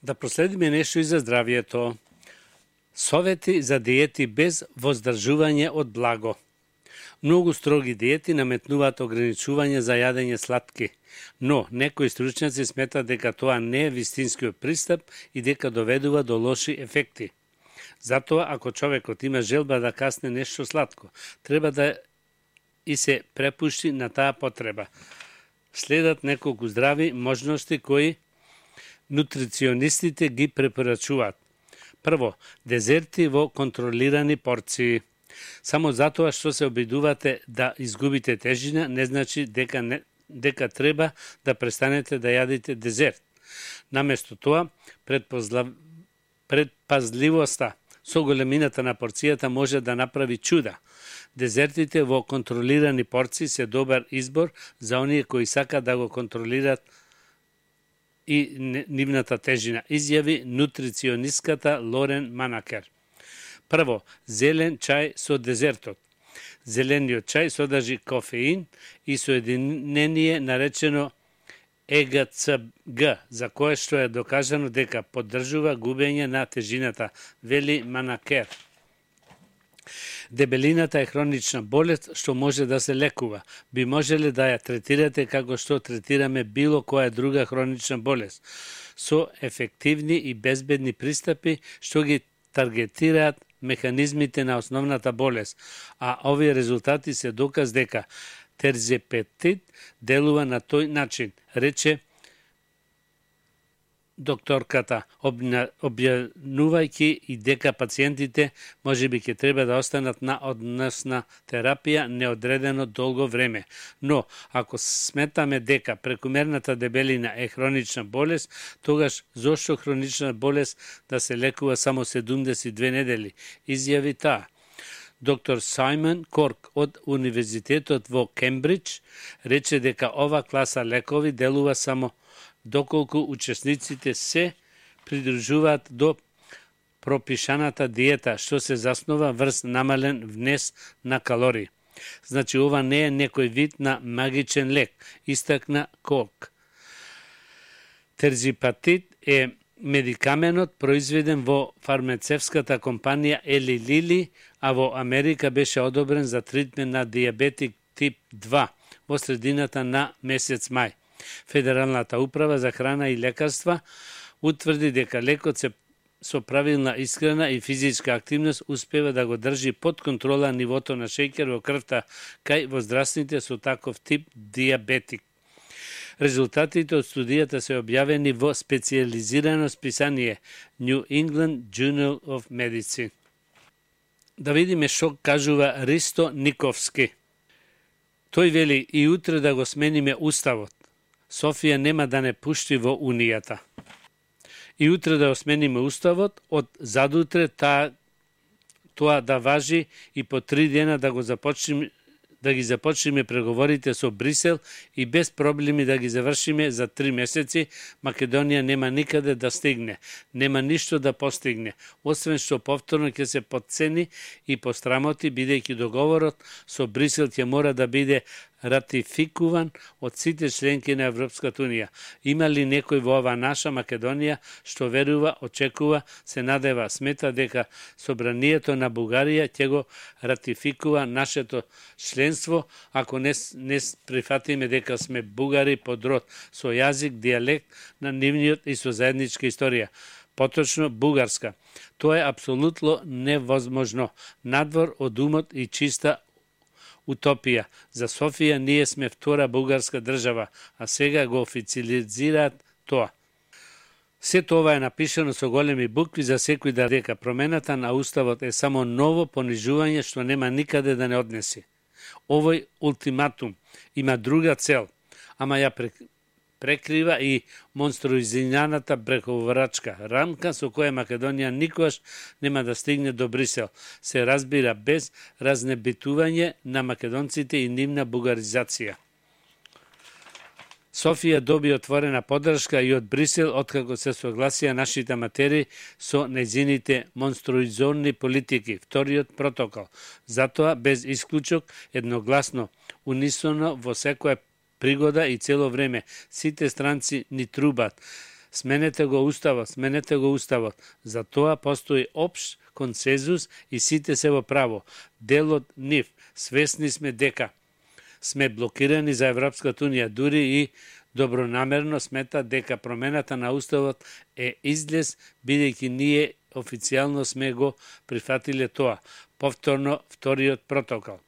Да проследиме нешто и за здравието. Совети за диети без воздржување од благо. Многу строги диети наметнуваат ограничување за јадење сладки, но некои стручњаци сметат дека тоа не е вистинскиот пристап и дека доведува до лоши ефекти. Затоа, ако човекот има желба да касне нешто сладко, треба да и се препушти на таа потреба. Следат неколку здрави можности кои нутриционистите ги препорачуваат. Прво, дезерти во контролирани порции. Само затоа што се обидувате да изгубите тежина, не значи дека треба да престанете да јадите дезерт. Наместо тоа, предпазливоста со големината на порцијата може да направи чуда. Дезертите во контролирани порции се добар избор за оние кои сакаат да го контролираат и нивната тежина, изјави нутриционистката Лорен Манакер. Прво, зелен чај со дезертот. Зелениот чај содржи кофеин и соединение наречено ЕГЦГ, за кое што е докажано дека поддржува губење на тежината, вели Манакер. Дебелината е хронична болест што може да се лекува. Би можеле да ја третирате како што третираме било која друга хронична болест, со ефективни и безбедни пристапи што ги таргетираат механизмите на основната болест, а овие резултати се доказ дека терзепетид делува на тој начин, рече докторката, објавнувајќи и дека пациентите можеби ќе треба да останат на односна терапија неодредено долго време. Но, ако сметаме дека прекумерната дебелина е хронична болест, тогаш зошто хронична болест да се лекува само 72 недели, изјави таа. Доктор Саймон Корк од Универзитетот во Кембридж рече дека ова класа лекови делува само доколку учесниците се придружуваат до пропишаната диета, што се заснова врз намален внес на калории. Значи, ова не е некој вид на магичен лек, истакна Корк. Терзипатид е медикаменот произведен во фармацевската компанија Eli Lilly, а во Америка беше одобрен за тритмент на диабетик тип 2 во средината на месец мај. Федералната управа за храна и лекарства утврди дека лекот со правилна исхрана и физичка активност успева да го држи под контрола нивото на шеќер во крвта кај возрастните со таков тип диабетик. Резултатите од студијата се објавени во специјализирано списание New England Journal of Medicine. Да видиме што кажува Ристо Никовски. Тој вели и утре да го смениме уставот. Софија нема да не пушти во Унијата. И утре да го смениме уставот, од задутре тоа да важи и по 3 дена да ги започнеме преговорите со Брисел и без проблеми да ги завршиме за 3 месеци, Македонија нема никаде да стигне, нема ништо да постигне, освен што повторно ќе се потцени и пострамоти, бидејќи договорот со Брисел ќе мора да биде ратификуван од сите членки на Европската Унија. Има ли некој во ова наша Македонија што верува, очекува, се надева, смета дека собранието на Бугарија ќе го ратификува нашето членство, ако не прифатиме дека сме бугари под род, со јазик, дијалект на нивниот и со заедничка историја. Поточно бугарска. Тоа е апсолутно невозможно, надвор од умот и чиста утопија. За Софија ние сме втора бугарска држава, а сега го официализираат тоа. Сето ова е напишано со големи букви за секој да дека промената на уставот е само ново понижување што нема никаде да не однеси. Овој ултиматум има друга цел, ама ја прекрива и монструозијаната преговарачка рамка со која Македонија никогаш нема да стигне до Брисел. Се разбира без разнебитување на македонците и нивна бугаризација. Софија доби отворена поддршка и од Брисел откако се согласија нашите матери со нејзините монструозни политики, вториот протокол. Затоа без исклучок, едногласно, унисоно во секоја пригода и цело време сите странци ни трубат. Сменете го уставот. За тоа постои општ консензус и сите се во право. Дел од нив. Свесни сме дека сме блокирани за Европската унија, дури и добронамерно сметат дека промената на уставот е излез, бидејќи ние официјално сме го прифатиле тоа. Повторно вториот протокол.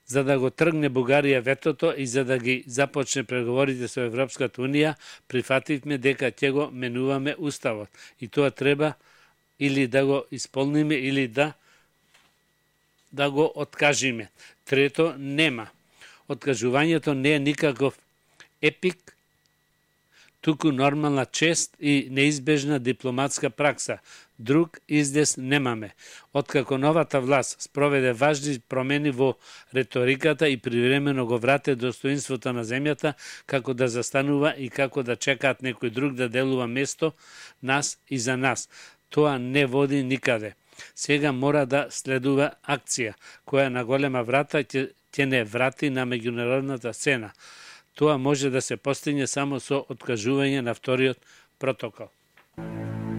За да го тргне Бугарија ветото и за да ги започне преговорите со Европската унија, прифативме дека ќе го менуваме уставот. И тоа треба или да го исполниме, или да го откажиме. Трето, нема. Откажувањето не е никаков епик, туку нормална чест и неизбежна дипломатска пракса. Друг излез немаме. Откако новата власт спроведе важни промени во реториката и привремено го врате достоинството на земјата, како да застанува и како да чекаат некој друг да делува место нас и за нас. Тоа не води никаде. Сега мора да следува акција, која на голема врата ќе не врати на меѓународната сцена. Тоа може да се постигне само со откажување на вториот протокол.